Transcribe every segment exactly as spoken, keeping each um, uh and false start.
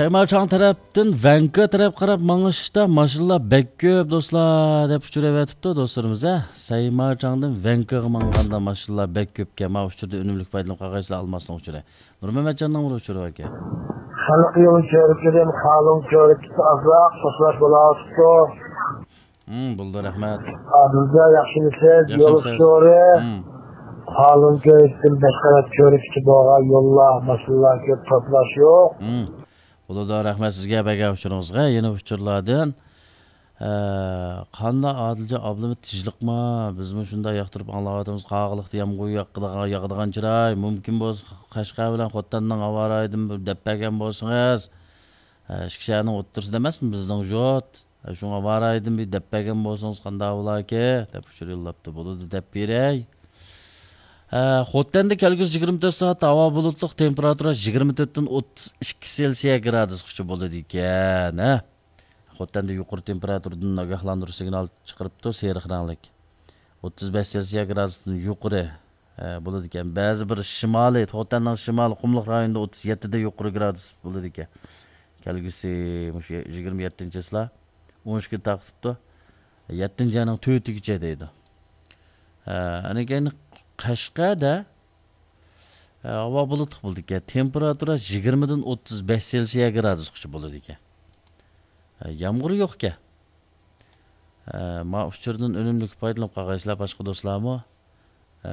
سەيمارچاڭ تەرەپتىن ۋەنكۇ تەرەپ قاراپ ماڭىشتا ماشىنىلار بەك كۆپ، دوستلار، دەپ ئۇچۇر ئەۋەتىپتۇ دوستلىرىمىز، ھە. سەيمارچاڭدىن ۋەنكۇغا ماڭغاندا ماشىنىلار بەك كۆپكەن. ما ئۇچۇردىن ئۈنۈملۈك پايدىلىنىپ قالغايسىلەر، ئالماسنىڭ ئۇچۇرى. نۇرمەمەتجاننىڭ بىر ئۇچۇرى باركەن. خەلق يولى كۆرۈكىدىن خالۇڭ كۆرۈكىسى ئازراق توسۇلۇش بولاۋاتىدۇ. ھىم، بولدى، رەھمەت. ئادىلجان، ياخشىمۇسىز؟ ياخشىمۇسىز؟ يول ئۇچۇرى. ھىم. خالۇڭ كۆرۈكتىن بەشقەرەت كۆرۈكىچە بولغان يوللار، ماشىنىلار كۆپ، توسۇلۇش يوق. ھىم. بولىدۇ، رەھمەت سىزگە بەرگەن ئۇچۇرىڭىزغا. يەنە ئۇچۇرلاردىن، ئە، قانداق ئادىلجان ئابلىمىت، تىنچلىقمۇ؟ بىزمۇ شۇنداق ياقتۇرۇپ ئاڭلاۋاتىمىز. قاغىلىقتا يامغۇر ياغىدىغان، ياغىدىغان چىراي. مۇمكىن بولسا قەشقەر بىلەن خوتەندىن ھاۋا رايىدىن بىر دەپ بەرگەن بولسىڭىز. ئە، ئىككى شەھەرنىڭ ئوتتۇرىسىدا ئەمەسمۇ بىزنىڭ يۇرت؟ شۇڭا ۋارايدىن بىر دەپ بەرگەن بولسىڭىز قانداق بولاكى؟ دەپ ئۇچۇر يوللاپتۇ. بولىدۇ، دەپ بېرەي. ھە، خوتەندە كەلگۈسى يىگىرمە تۆت سائەتتە ھاۋا بۇلۇتلۇق، تېمپېراتۇرا يىگىرمە تۆتتىن ئوتتۇز ئىككى سېلسىيە گرادۇسقىچە بولىدىكەن، ھە. خوتەندە يۇقىرى تېمپېراتۇرىدىن ئاگاھلاندۇرۇش سىگنالى چىقىرىپتۇ، سېرىق رەڭلىك. ئوتتۇز بەش سېلسىيە گرادۇستىن يۇقىرى، ھە، بولىدىكەن. بەزى بىر شىمالىي، خوتەننىڭ شىمالىي قۇملۇق رايونىدا ئوتتۇز يەتتىدە يۇقىرى گرادۇس بولىدىكەن. كەلگۈسى مۇشۇ يىگىرمە يەتتىنچى چىسلا. ئون ئىككى تارقىتىپتۇ. يەتتىنچى ئاينىڭ تۆتىگىچە دەيدۇ. ھە، ئاندىن كېيىن قەشقەردە، ھە، ھاۋا بۇلۇتلۇق بولىدىكەن. تېمپېراتۇرا يىگىرمىدىن ئوتتۇز بەش سېلسىيە گرادۇسقىچە بولىدىكەن. ھە، يامغۇر يوقكەن. ھە، ما ئۇچۇردىن ئۈنۈملۈك پايدىلىنىپ قالغايسىلەر، باشقا دوستلارمۇ. ئە،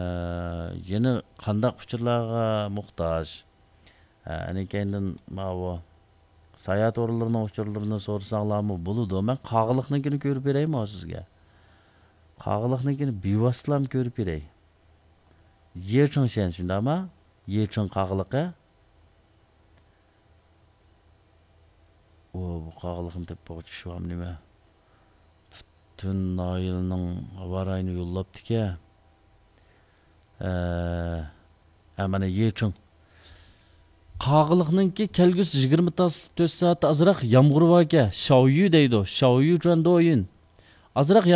يەنە قانداق ئۇچۇرلارغا موھتاج؟ ئە، ئەنە كەينىدىن ماۋۇ ساياھەت ئورۇنلىرىنىڭ ئۇچۇرلىرىنى سورىساڭلارمۇ بولىدۇ. مەن قاغىلىقنىڭكىنى كۆرۈپ بېرەيمۇ سىزگە؟ قاغىلىقنىڭكىنى بىۋاسىتىلا كۆرۈپ بېرەي. يېچىڭ شەن شۇنداقما؟ يېچىڭ قاغىلىقى. ئۇ، بۇ قاغىلىقنى تېپىپ بولغۇچە شۇ نېمە؟ پۈتۈن ناھىيەنىڭ ھاۋا رايىنى يوللاپتىكەن. ئە، ھە، مانا يېچىڭ. قاغىلىقنىڭكى كەلگۈسى يىگىرمە تۆت سائەتتە ئازراق يامغۇر باركەن. شاۋيۈ دەيدۇ. شاۋيۈ جۇەندويىن. ئازراق يامغۇر